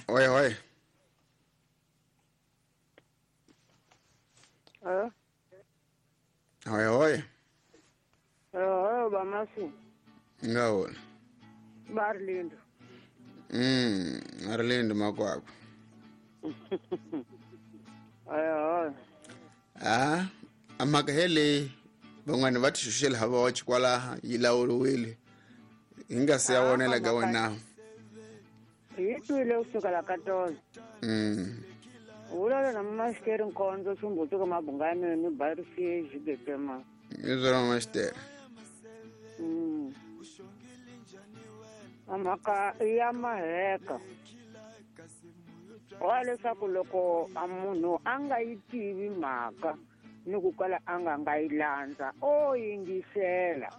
Oye, oye. Oye, oye. Oh, bamasi. Ngawona. Barlindo. Arlindo makwakwa. Oye, oye. Ah, amakahele van'wana va tixuxela hava wa chikwalaha yi lawuriwile hi nga si ya vonela ka wena. Yi twile kusukela ka tolo. Vulavula na Masitere Nkonzo Xumbuti ka Mabungani ni Barisi Xibekema. I swona Masitere. Mhaka ya maheka. Wa leswaku loko a munhu a nga yi tivi mhaka ni ku kala a nga yi landza o yingisela.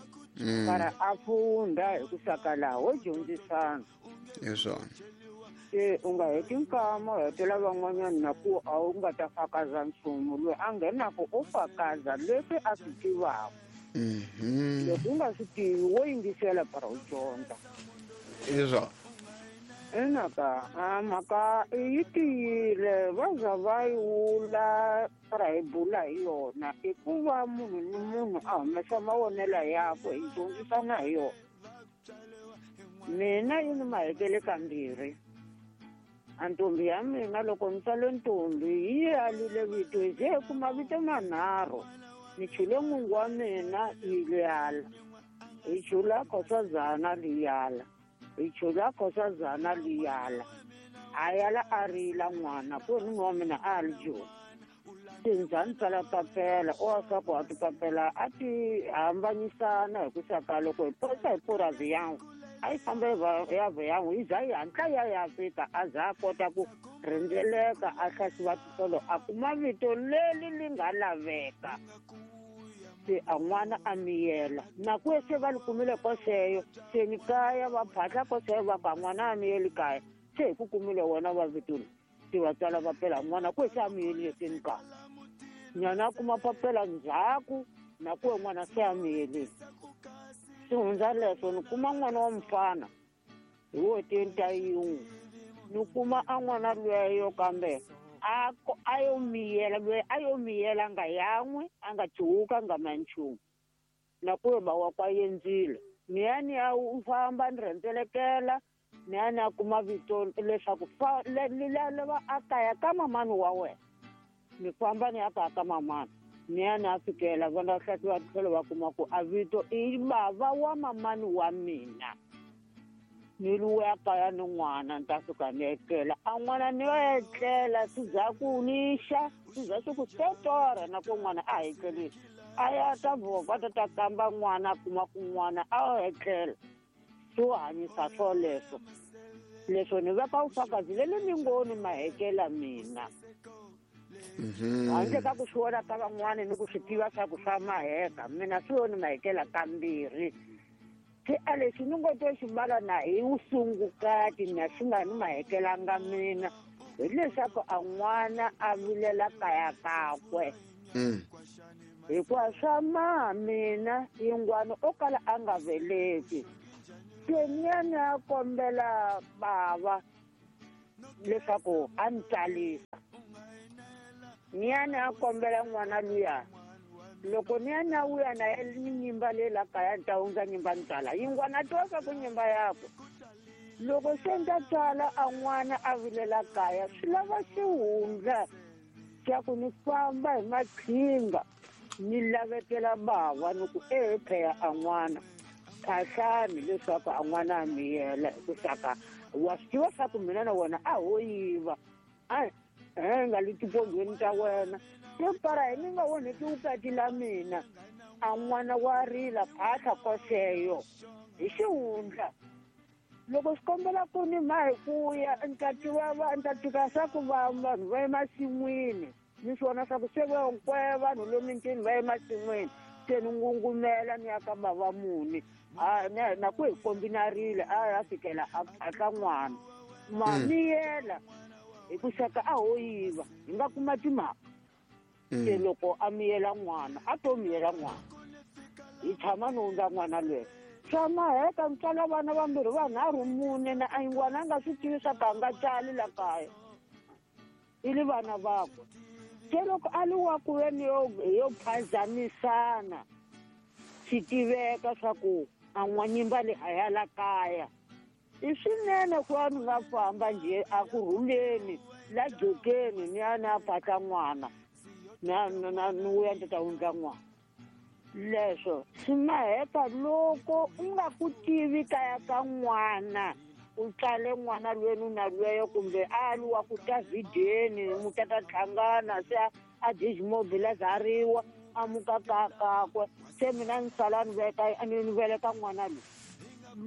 Para a funda hi ku saka laha wo dyondzisana. Hi swona. Se u nga heti nkama u hetela van'wanyana na ku a wu nga ta fakaza nchumu loyi a nghenaku u fakaza leswi a swi tivaka. Loko u nga swi tivi wo yingisela para u dyondza. Hi swona. Inaka mhaka yi tiyile va za va yi wula para hi bula hi yona i ku va munhu ni munhu a humesa mavonelo yakwe hi dyondzisana hi yona. Mina yi ni mahekele kambirhi. A ntombi ya mina loko ni tsale ntombi yi alile vito hi ze hi kuma vito manharhu. Ni chule n'wingi wa mina yi yala, hi chula Khosazana li yala, hi chula Khosazana li yala. A yala a rila n'wana ku ri wa mina a li joni. Se ndza ni tsala papela o wa swa ku a tipapela a ti hambanyisana hi ku saka loko hi posa hi purazi yan'we a yi famba ya yan'we yi za yi hatla ya ya fika a za a kota ku rhendzeleka a hlasiwa titolo a kuma vito leri li nga laveka. Se a n'wana a miyela na ku se va li kumile koseyo se ni kaya va phahla koseyo va ku a n'wana a miyeli kaya se hi ku kumile wena va vito se va tsala papela n'wana ku se a miyelile se ni kaya nyana a kuma papela ndzhaku na ku n'wana se a miyelile. Swi hundza leswo ni kuma n'wana wa mufana hi wo tenta yin'we ni kuma a n'wana lweyo kambe a yo miyela lweyi a yo miyela nga yan'we a nga cuwuka nga ma nchumu na ku ba wa kwa yendzile ni ya ni ya famba ni rhendzelekela ni ya ni ya kuma vito leswaku lava a kaya ka mamani wa wena ni famba ni ya kaya ka mamani ni ya ni ya fikela vona hlasiwa tlhelo va kuma ku a vito i bava wa mamani wa mina. Ni luya kaya ni n'wana ni ta fika ni etlela a n'wana ni yo etlela swi za ku ni xa swi za swi ku setora na ku n'wana a etlelile a ya ta vova ta ta kamba n'wana a kuma ku n'wana a etlela swo hanyisa swoleswo leswo ni veka vufakazi leli ni ngo ni mahekela mina. Handle ka ku swi vona ka van'wana ni ku swi tiva swa ku swa maheka mina swi yo ni mahekela kambirhi. Se a lexi ni ngo to xi mbala na hi vusungukati na xi nga ni mahekelanga mina hileswaku a n'wana a vilela kaya kakwe. Hikuva swa maha mina yingwana o kala a nga veleki se ni ya ni ya kombela bava leswaku a ni tsalisa. Ni ya ni ya kombela n'wana luya loko ni ya na wuya na ye ni nyimba leyi la kaya ni ta hundza nyimba ni tsala yingwana twa swa ku nyimba yakwe loko se ni ta tsala a n'wana a vilela kaya swi lava xihundla xa ku ni famba hi maqhinga ni lavetela bava ni ku ehe pheya a n'wana phahlani leswaku a n'wana a miyela hi ku saka wa swi tiva swa ku mina na wena a ho yiva a nga le tipondweni ta wena se para hi ni nga onheki vukati la mina a n'wana wa rila phahla koseyo hi xihundla loko swi kombela ku ni ma hi ku ya ni ta tiva ni ta tika swa ku va vanhu va emasin'wini ni swi vona swa ku se va hinkwayo vanhu le mitini va emasin'wini se ni ngungumela ni ya ka bava muni a na ku hi kombinarile a ya fikela a phahla n'wana ma miyela hi ku saka a ho yiva hi nga kuma timhaka. Se loko a miyela n'wana a to miyela n'wana hi tshama ni hundza n'wana lweyo. Swa maheka mi tswala vana vambirhi vanharhu mune na a n'wana a nga swi tivi swa ku a nga tswali la kaya i li vana vakwe. Se loko a li wa ku veni yo phazamisana swi tiveka swa ku a n'wanyimba le a ya la kaya. I swinene ku va ni nga famba njhe a ku rhuleni la jokeni ni ya ni ya phahla n'wana na ni vuya ni ta wundla n'wana. Leswo swi maheka loko u nga ku tivi kaya ka n'wana u tswale n'wana lwenu na lweyo kumbe a li wa ku ta vhideni mu ta ta hlangana se a dismobilizariwa a muka ka kakwe se mina ni sala ni veka ni veleka n'wana loyi.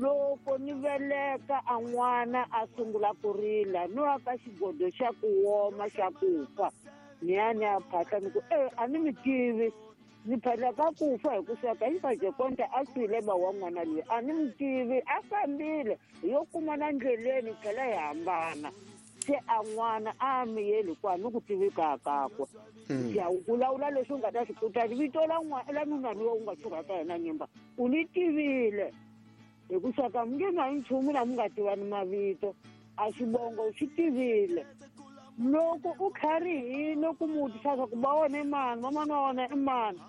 Loko ni veleka a n'wana a sungula ku rila no ya ka xigodo xa ku woma xa ku fa ni ya ni ya phahla ni ku a ni mi tivi ni phahla ka ku fa hi ku sweka hi Fajekonte a swile ba wa n'wana loyi a ni mi tivi a fambile yo kumana ndleleni tlhela hi hambana se a n'wana a miyeli kwa ni ku tivi ka kakwe. Ya u vulavula leswi u nga ta swi kuta vito la n'wana la nuna loyi u nga xurhaka yena nyimba u ni tivile hi ku sweka mi nge na nchumu na mi nga tivani mavito a xivongo xi tivile. Loko u tlharihile ku mu vutisa swa ku ba wona i mani mamana wa wona i mani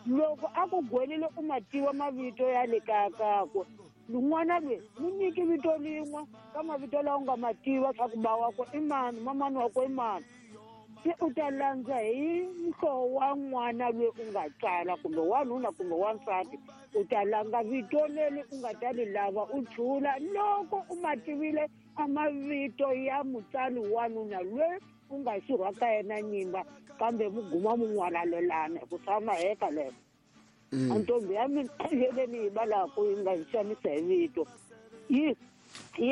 loko a ku gwelile u ma tiva mavito ya le kaya kakwe n'wana loyi mu nyiki vito lin'we ka mavito lawa u nga ma tiva swa ku ba wakwe i mani mamani wakwe i mani se u ta landza hi muhlovo wa n'wana loyi u nga tswala kumbe wanuna kumbe wansati u ta langa vito leri u nga ta li lava u chula loko u ma tivile a mavito ya mutswari wanuna loyi u nga xurha ka yena nyimba kambe mu guma mu n'walalelana hi ku swa maheka leswo. A ntombi ya mina yele ni yi valaku yi nga hi xanisa hi vito yi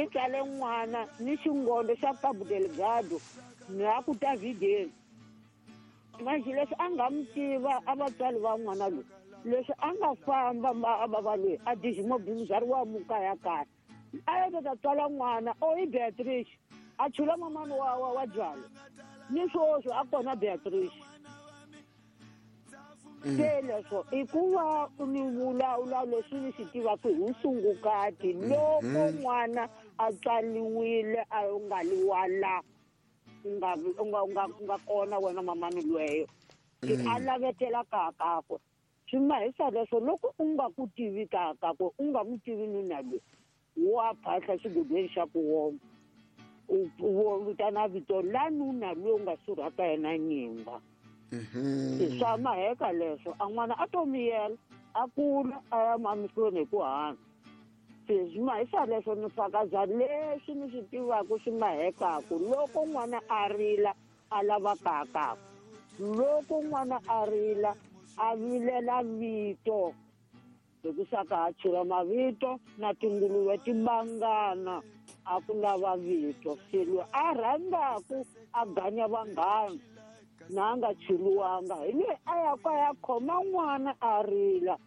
tswale n'wana ni xingondo xa Cabo Delgado ni a ku ta vhideni manjhe leswi a nga mi tiva a vatswari va n'wana loyi leswi a nga famba a va loyi a dismobilizariwa mukaya kaya a ya ta tswala n'wana o i Beatrice a chula mamani wa byalo ni swoswo a kona Beatrice. Se leswo i ku va ni vulavula leswi ni swi tivaka hi vusungukati loko n'wana a tswaliwile a nga liwala u nga kona wena mamani lweyo a lavetela ka kakwe swi mahisa leswo loko u nga ku tivi ka kakwe u nga mu tivi nuna loyi wa phahla xigodweni xa ku woma u vitana vito la nuna loyi u nga surhaka yena nyimba. Swa maheka leswo a n'wana a to miyela a kula a ya mamihlweni hi ku hanya. Se swi mahisa leswo ni fakaza leswi ni swi tivaka swi mahekaku loko n'wana a rila a lava kakakwe loko n'wana a rila a vilela vito hi ku saka a chula mavito na tinguluve ti bangana a ku lava vito se loyi a rhangaku a ganya vanghana na a nga chuluwanga hi loyi a ya ka ya khoma n'wana a rila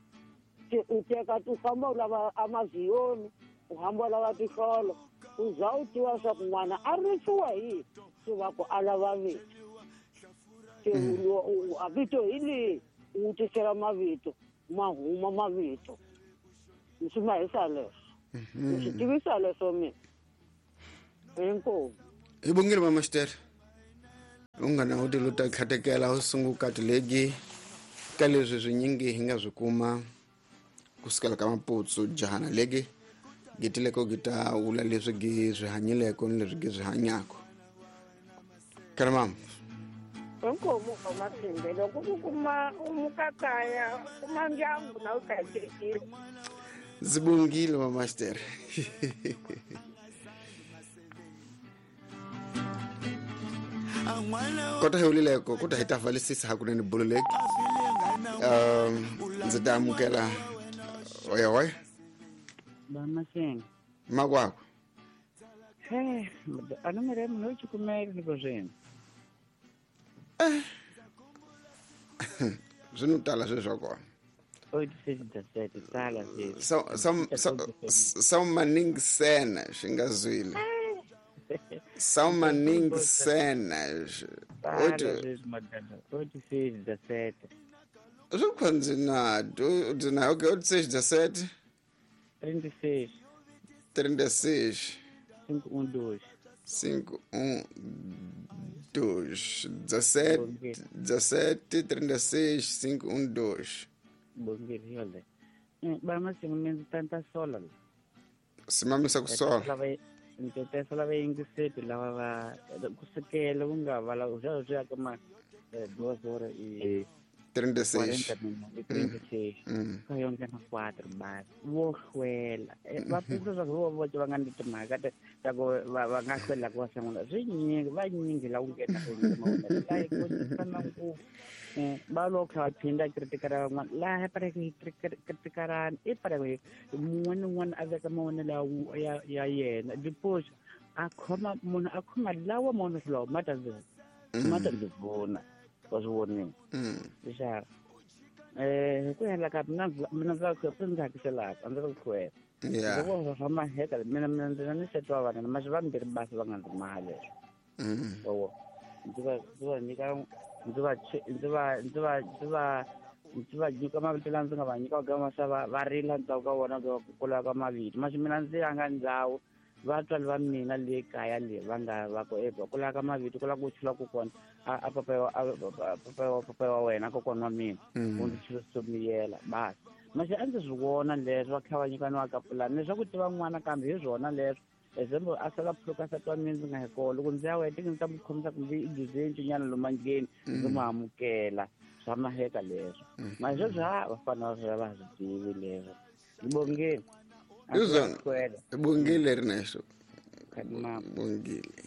se u teka u famba u lava amavhiyoni u hamba u lava tihlolo u za u tiva swa ku n'wana a risiwa hi se va ku a lava vito se a vito hi lihi u tisela mavito ma huma mavito swi mahisa leswo ni swi tivisa leswo mina inkomu. Hi bongile mama Xitere u nga na u ti luta tlhatekela u sungukati legi ka leswi swinyingi hi nga swi kuma kusukela ka maputsu jahana legi gitileko gi ta vula leswi gi swi hanyileko ni leswi gi swi hanyako. Kana mama inkomu masimbe loko u kuma u muka kaya kuma ndyangu na u hlayisekile. Ndzi bongile mama Xitere. Kota hi wulileko kota hi ta valisisa hakunene bulo leki ndzi ta amukela oya oya Bamasenga makwakwe. A nomero ya munhu chikumele niko zwino swi no tala sweswi swa kona 86 sweswi swa maningi sena swi nga zwile swa maningi sena 86 swi kha ndzi na ndzi na okay 86 36 36 512 512 17 17 36 512. Bongile yole. Ba masingo mina tanta sola. Simamisa ku sola. Ndzi lava yingiseti lava va kusukela ku nga va lava swa swi ya ka ma duas horas e 36 36 ka yo nghena 4 ba wo hlwela va pfuka swa ku va va nga ni timhaka ta ku va nga hlwela ku va sungula swi nyingi va nyingi la ku nghena ku mavona la ku fana ku va lo kha phinda kritikara van'wana laha pare ku kritikarani i pare ku mun'wana ni un'wana a veka mavonelo ya yena depois a khoma munhu a khoma lawa mavonelo lawa ma ta ndzi vona wa swi vonile xa hi ku hela ka mina mina ndza ku ndzi hakiselaka a ndzi ri ku hlwela loko swa maheka mina ndzi na ni seti wa vana masi vambirhi basi va nga ndzi maha leswo so ndzi va nyika ndzi va ndzi va ndzi va ndzi va ndzi va nyika mavito lawa ndzi nga va nyika ka masa va rila ndzhaku ka vona ku lava ka mavito masi mina ndzi yanga ndhawu vatswari va mina le kaya le va nga va ku eba ku lava ka mavito ku lava ku chula kokwana a papa wa wena kokwana wa mina u ndzi chula somiyela basi masi a ndzi swi vona leswo va kha va nyikaniwa ka pulani leswaku tiva n'wana kambe hi swona leswo example a sala phuluka nsati wa mina ndzi nga hi kona loko ndzi ya wena ndzi ta mu khomisa kumbe i dizentsu nyana lomu ndleni ndzi mu amukela swa maheka leswo mara sweswi ha vafana va va swi tivi leswo ndzi bongeni izona bongile Ernesto bongile.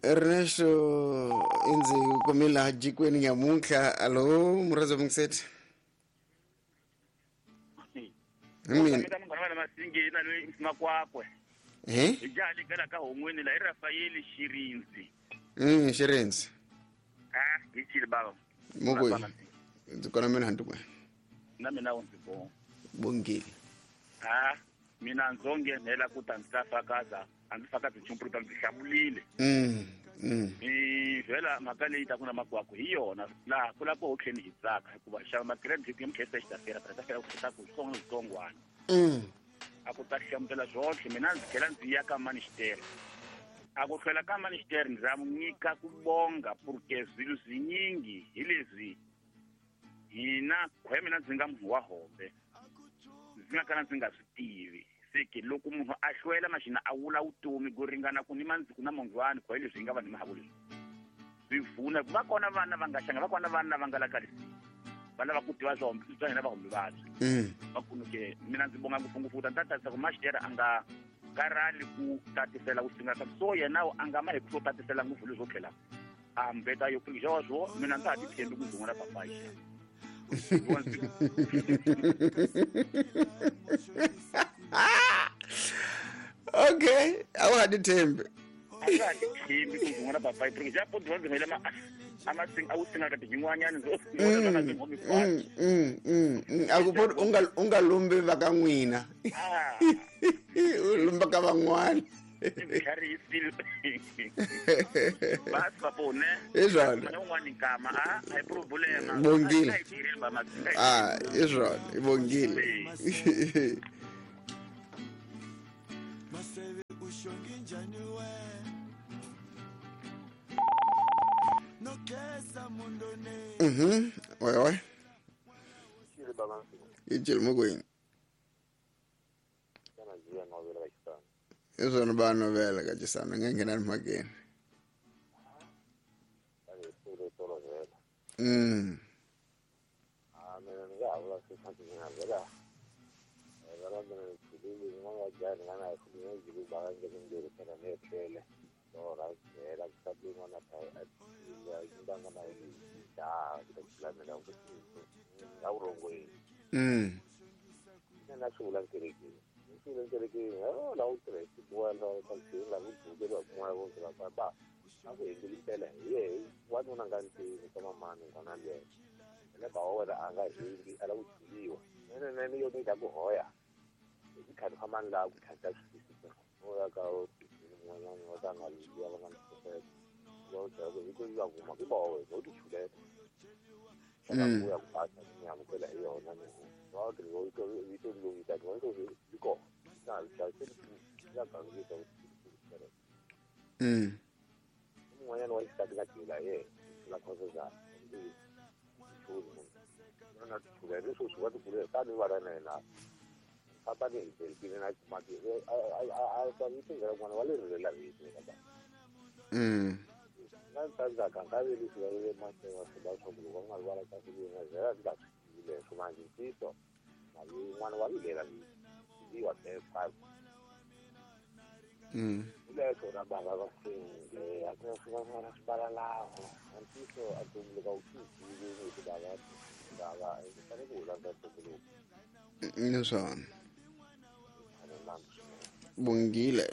Ernesto indzi kumila jikweni nyamuntlha. Alo muradzo mungiseti mina makwakwe eh ijali kala ka hon'weni la i Rafael Shirinzi Shirinzi ah ichile baba mukwe ndzi kona mina hantu na mina u ndzi bonga bongile ah mina ndzo nghenela ku ta ndzi ta fakaza a ndzi fakazi nchumu ta ndzi hlamulile mi vhela mhaka leyi ta ku na makwakwe hi yona laha ku lava ku hotlheni hi tsaka hikuva xava ma-credit ya mukhesa xi ta fela ta fela ku ta ku switsongo switsongwana a ku ta hlamutela swotlhe mina ndzi tlhela ndzi ya ka manixitere a ku hlwela ka manixitere ndzi ra nyika ku bonga porque swilo swinyingi hi leswi hina khwe mina ndzi nga munhu wa hombe ndzi nga kala ndzi nga swi tivi seke loko munhu a hlwela maxina a wula vutomi ku ringana ku ni mandziku na mangwani khwe leswi hi nga vanhu mahavo leswi swi pfuna va kona vana va nga xanga va kona vana va nga la kalisi va lava ku tiva swa swa hina vahombe vabyi va kunuke mina ndzi bonga ngopfungopfu ta ni ta tatisa ku maxitera a nga karhali ku tatisela ku singa ka so yena a nga ma hi ku swo tatisela ngopfu leswo tlhela a mbeta yo xo swo mina ndza ha ti tshembi ku ndzi n'wana papayi xa okay a wa ha ti tshembi a ndza ha ti tshembi ku ndzi n'wana papayi porque xa po ndzi ndzi ma a wu singa ka tinyin'wanyana a ku po u nga lumbi va ka n'wina u lumba ka van'wana i swona bongile a i swona i bongile. Oi oi i mukweni i swona va novela ka cisana nga nghena ni mhakeni Kuya ku basa ni amukela hi yona ni va ri vito vito loyi ta vito yi kona na ta se ya ka vito mun'wanyana wa xisati ka jela ye la khoso za ndi chuzi munhu na chuza leswo swi va ti kulela tani va ra na yena papa ni hi na mati a ta vito ra n'wana wa le rilela vito ka na ntsandza ka nkarhi leswi va le mahlweni wa swi va swa ku loko va nga rivala ka swi na zera swi nga swi tivi leswo manje ntiyiso mali n'wana wa vilela vito wa five leswo ra bava va senge a ku na swin'wana swi balalaho ntiyiso a tumbuluka u swi tivi hi bava bava i fanele ku landza ntumbuluko ni swona bongile.